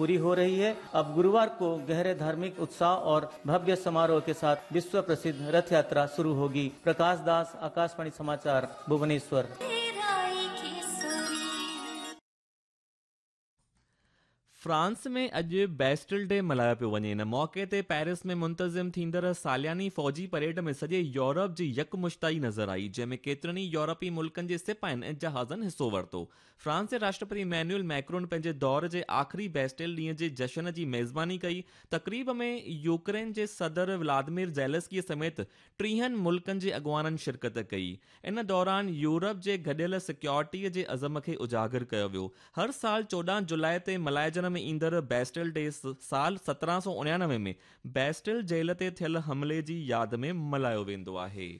पूरी हो रही है। अब गुरुवार को गहरे धार्मिक उत्साह और भव्य समारोह के साथ विश्व प्रसिद्ध रथ यात्रा शुरू होगी। प्रकाश दास, आकाशवाणी समाचार, भुवनेश्वर। फ्रांस में अॼु बेस्टल डे मल्हायो पियो वञे। इन मौक़े ते पेरिस में मुंतज़िम थींदड़ सालियानी फ़ौजी परेड में सॼे यूरोप जी यकमुश्ताई नज़र आई, जंहिंमें केतिरनि ई यूरोपी मुल्कनि जे सिपाहियुनि ऐं जहाज़नि हिसो वरितो। फ्रांस जे राष्ट्रपति मैन्युअल मैक्रोन पंहिंजे दौर जे आख़िरी बेस्टल ॾींहं जे जशन जी मेज़बानी कई। तक़रीब में यूक्रेन जे सदर व्लादिमीर ज़ेलेंस्की समेत 30 मुल्कनि जे अॻुवाणनि शिरकत कई। इन दौरान यूरोप जे गॾियल सिक्योरिटीअ जे अज़म खे उजागर कयो वियो। हर साल 14 जुलाई ते मल्हाइजण में ईंदड़ बेस्टल डे साल 1799 में बेस्टल जेल ते थियल हमले जी याद में मल्हायो वेंदो आहे।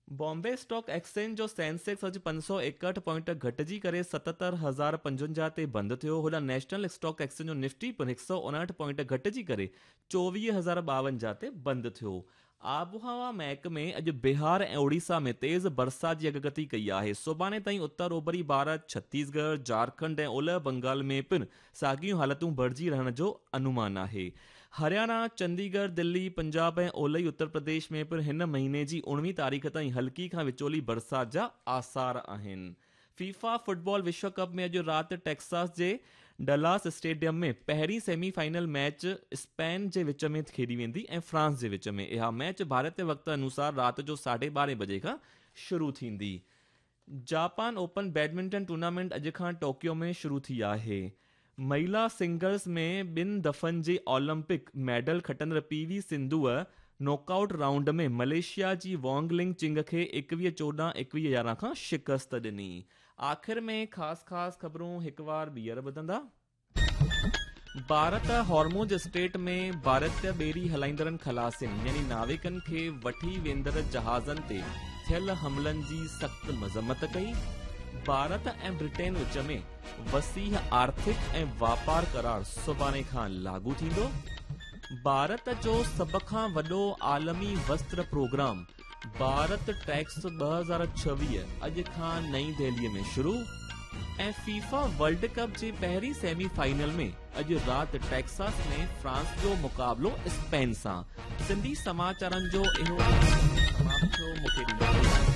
बॉम्बे स्टॉक एक्सचेंज जो सेंसेक्स अॼु 561 पॉइंट घटिजी करे 77,055 ते बंदि थियो। होॾां नेशनल स्टॉक एक्सचेंज जो निफ्टी पिणु 159 पॉइंट घटिजी करे 24,052 ते बंदि थियो। आबहवा महकमे अॼु बिहार ऐं ओडिशा में तेज़ बरसाति जी अॻकथी कई आहे। सुभाणे ताईं उत्तर ओभरी भारत, छत्तीसगढ़, झारखंड ऐं ओलह बंगाल में पिणु साॻियूं हालतूं बणिजी रहण जो अनुमान आहे। हरियाणा, चंडीगढ़, दिल्ली, पंजाब ऐं ओलही उत्तर प्रदेश में पिणु हिन महीने जी 19 तारीख़ ताईं हल्की खां विचोली बरसाति जा आसार आहिनि। फीफा फुटबॉल विश्व कप में अॼु राति टेक्सास जे डलास स्टेडियम में पहिरीं सेमीफाइनल मैच स्पेन जे विच में खेॾी वेंदी ऐं फ्रांस जे विच में। इहा मैच भारतीय वक़्त अनुसार राति जो 12:30 बजे खां शुरू थींदी। जापान ओपन बैडमिंटन टूर्नामेंट अॼु खां टोक्यो में शुरू थी आहे। महिला सिंगल्स में ॿिनि दफ़नि जे ओलंपिक मेडल खटंदड़ पी वी सिंधूअ नॉकआउट राउंड में मलेशिया जी वोंग लिंग चिंग खे 21-14, 21-11 खां शिकस्त ॾिनी। आख़िर में ख़ासि ख़ासि ख़बरूं हिकु वार ॿीहर ॿुधंदा। भारत हॉर्मोज स्टेट में भारतीय ॿेड़ी हलाईंदड़नि ख़लासियुनि यानी नाविकनि खे वठी वेंदड़ जहाज़नि ते थियल हमलनि जी सख़्तु मज़म्मत कई। भारत ऐं ब्रिटेन विच में वसीह आर्थिक ऐं वापार करार सुभाणे खां लागू थींदो। भारत जो सभ खां वॾो आलमी वस्त्र प्रोग्राम भारत टैक्स 2026 अॼु खां नई दिल्लीअ में शुरू। ऐं फीफा वर्ल्ड कप जे पहिरीं सेमीफाइनल में अॼु राति टेक्सास में फ्रांस जो मुक़ाबिलो स्पेन सां। सिंधी समाचारनि जो इहो समाप्त थियो। मूंखे ॾींदा।